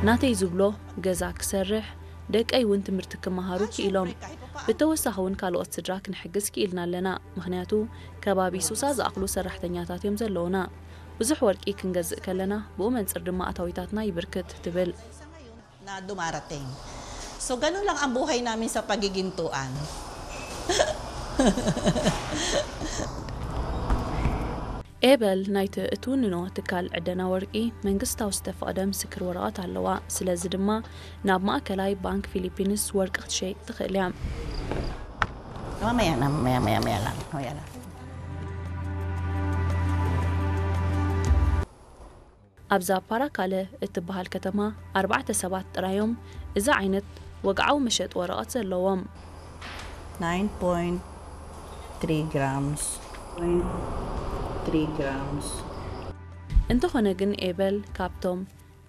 ናተይ ዝብሎ፣ ገዛ ክሰርሕ፣ ደቀይ እውን ትምህርቲ ክመሃሩ ክኢሎም። ብተወሳኺ እውን ካልኦት ስድራ ክንሕግዝ ክኢልና ኣለና። ምኽንያቱ ከባቢ ሱሳ ዝኣኽሉ ሰራሕተኛታት እዮም ዘለውና። ብዙሕ ወርቂ ክንገዝእ ከለና ብኡ መንፅር ድማ ኣታዊታትና ይብርክት ትብል። Na dumarating. So ganun lang ang buhay namin sa pagigintuan. ኤበል ናይቲ እትውንኖ ትካል ዕደና ወርቂ መንግስታዊ ዝተፈቐደ ምስክር ወረቐት ኣለዋ። ስለዚ ድማ ናብ ማእከላይ ባንክ ፊሊፒንስ ወርቂ ክትሸይጥ ትኽእል እያ። Mamaya na, mamaya, maya, maya lang. Maya lang. ኣብዛ ፓራካለ እትበሃል ከተማ ኣርባዕተ ሰባት ጥራዮም እዚ ዓይነት ወግዓዊ መሸጢ ወረቐት ዘለዎም። 9.3 grams. 0.3 grams. እንተኾነ ግን ኤበል ካብቶም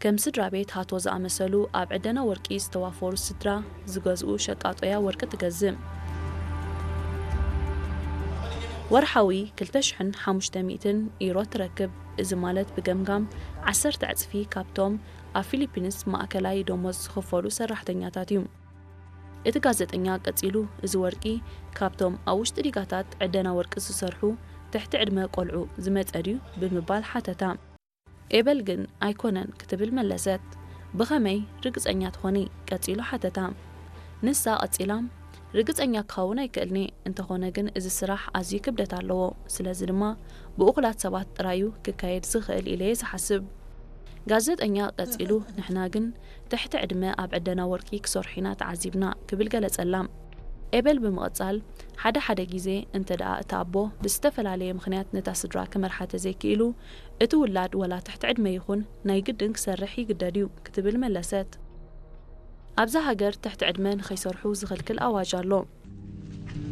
ከም ስድራ ቤት ሃቶ ዝኣመሰሉ ኣብ ዕደና ወርቂ ዝተዋፈሩ ስድራ ዝገዝኡ ሸቃጦያ ወርቂ ትገዝእ። ወርሓዊ ክልተ ሽሕን ሓሙሽተ ሚእትን ኢሮ ትረክብ። እዚ ማለት ብገምጋም ዓሰርተ ዕጽፊ ካብቶም ኣብ ፊሊፒንስ ማእከላይ ደሞዝ ዝኽፈሉ ሰራሕተኛታት እዩ። እቲ ጋዜጠኛ ቀጺሉ፣ እዚ ወርቂ ካብቶም ኣብ ውሽጢ ዲጋታት ዕደና ወርቂ ዝሰርሑ ትሕቲ ዕድመ ቆልዑ ዝመጸ ድዩ ብምባል ሓተታ። ኤበል ግን ኣይኮነን ክትብል መለሰት። ብኸመይ ርግጸኛ ትኾኒ? ቀጺሉ ሓተታ። ንሳ ቀጺላ፣ ርግጸኛ ክኸውን ኣይክእልኒ፣ እንተኾነ ግን እዚ ስራሕ ኣዝዩ ክብደት ኣለዎ፣ ስለዚ ድማ ብእኹላት ሰባት ጥራዩ ክካየድ ዝኽእል ኢለ እየ ዝሓስብ። ጋዜጠኛ ቀጺሉ፣ ንሕና ግን ትሕቲ ዕድመ ኣብ ዕደና ወርቂ ክሰርሑ ኢና ተዓዚብና ክብል ገለጸላ። ኤበል ብምቕጻል፣ ሓደ ሓደ ግዜ እንተ ደኣ እቲ ኣቦ ብዝተፈላለየ ምኽንያት ነታ ስድራ ክመርሓ ተዘይክኢሉ፣ እቲ ውላድ ወላ ትሕቲ ዕድመ ይኹን ናይ ግድን ክሰርሕ ይግደድ እዩ ክትብል መለሰት። ኣብዛ ሃገር ትሕቲ ዕድመ ንኸይሰርሑ ዝኽልክል ኣዋጅ ኣሎ።